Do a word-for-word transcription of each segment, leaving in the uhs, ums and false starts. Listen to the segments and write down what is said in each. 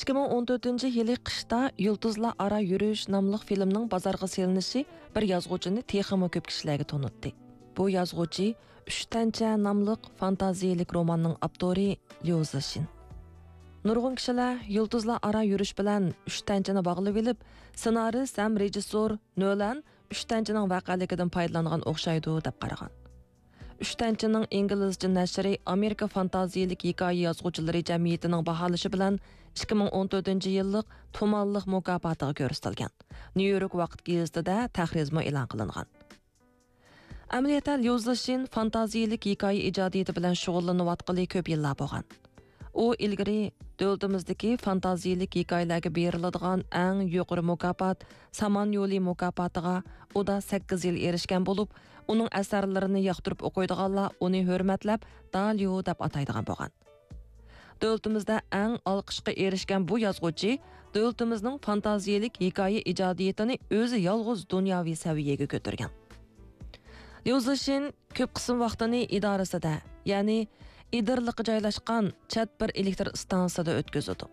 ئىككى مىڭ ئون تۆتىنچى يىلى قىشتا يۇلتۇزلار ئارا يۈرۈش ناملىق فىلىمنىڭ بازارغا سېلىنىشى بىر يازغۇچىنى تېخىمۇ كۆپ كىشىلەرگە تونۇتتى. بۇ يازغۇچى ئۈچ تەنچە ناملىق فانتازىيىلىك روماننىڭ ئاپتورى ليۇ زىشىن. نۇرغۇن كىشىلەر يۇلتۇزلار ئارا يۈرۈش بىلەن ئۈچ تەنچىنى باغلىۋېلىپ، سېنارىست ھەم رېژىسسور نۆلەن ئۈچ تەنچىنىڭ ۋەقەلىكىدىن پايدىلانغان ئوخشايدۇ، دەپ قارىغان. ئۈچ تەنچىنىڭ ئىنگلىزچە نەشرى ئامېرىكا فانتازىيىلىك ھېكايە يازغۇچىلىرى جەمئىيىتىنىڭ باھالىشى بىلەن ئىككى مىڭ ئون تۆتىنچى يىللىق تۇمانلىق مۇكاپاتىغا كۆرسىتىلگەن. نيۇ يورك ۋاقىت گېزىتىدە تەھرىرمۇ ئېلان قىلىنغان. ئەمەلىيەتتە، ليۇ زىشىن فانتازىيىلىك ھېكايە ئىجادىيىتى بىلەن شۇغۇللىنىۋاتقىلى كۆپ يىللار بولغان. ئۇ ئىلگىرى دۆلىتىمىزدىكى فانتازىيىلىك ھېكايىلەرگە بېرىلىدىغان ئەڭ يۇقىرى مۇكاپات، سامان يولى مۇكاپاتىغا ئۇدا سەككىز يىل ئېرىشكەن بولۇپ، ئۇنىڭ ئەسەرلىرىنى ياقتۇرۇپ ئوقۇيدىغانلار ئۇنى ھۆرمەتلەپ، داليۇ دەپ ئاتايدىغان بولغان. دۆلىتىمىزدە ئەڭ ئالقىشقا ئېرىشكەن بۇ يازغۇچى دۆلىتىمىزنىڭ فانتازىيىلىك ھېكايە ئىجادىيىتىنى ئۆزى يالغۇز دۇنياۋى سەۋىيەگە كۆتۈرگەن. ليۇ زىشىن كۆپ قىسىم ۋاقتىنى ئىدارىسىدە، يەنى ئىدىرلىققا جايلاشقان چەت بىر ئېلېكتر ئىستانسىسىدا ئۆتكۈزىدۇ.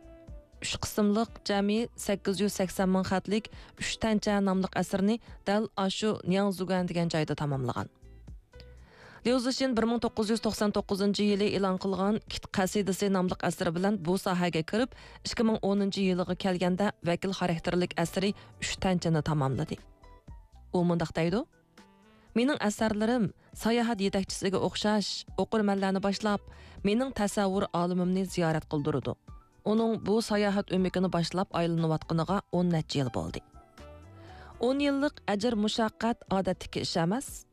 ئۈچ قىسىملىق جەمئىي سەككىز يۈز سەكسەن مىڭ خەتلىك ئۈچ تەنچە ناملىق ئەسىرىنى دەل ئاشۇ نياڭزۇگەن دېگەن جايدا تاماملىغان. ليۇ زىشىن بىر مىڭ توققۇز يۈز توقسان توققۇزىنچى يىلى ئېلان قىلغان كىت قەسىدىسى ناملىق ئەسىرى بىلەن بۇ ساھەگە كىرىپ، ئىككى مىڭ ئونىنچى يىلىغا كەلگەندە ۋەكىل خاراكتېرلىك ئەسىرى ئۈچ تەنچىنى تاماملىدى. ئۇ مۇنداق دەيدۇ: مېنىڭ ئەسەرلىرىم ساياھەت يېتەكچىسىگە ئوخشاش، ئوقۇرمەنلەرنى باشلاپ، مېنىڭ تەسەۋۋۇر ئالىمىمنى زىيارەت قىلدۇرىدۇ. ئۇنىڭ بۇ ساياھەت ئۆمىكىنى باشلاپ ئايلىنىۋاتقىنىغا ئون نەچچە يىل بولدى. ئون يىللىق ئەجىر مۇشەققەت ئادەتتىكى ئىش ئەمەس.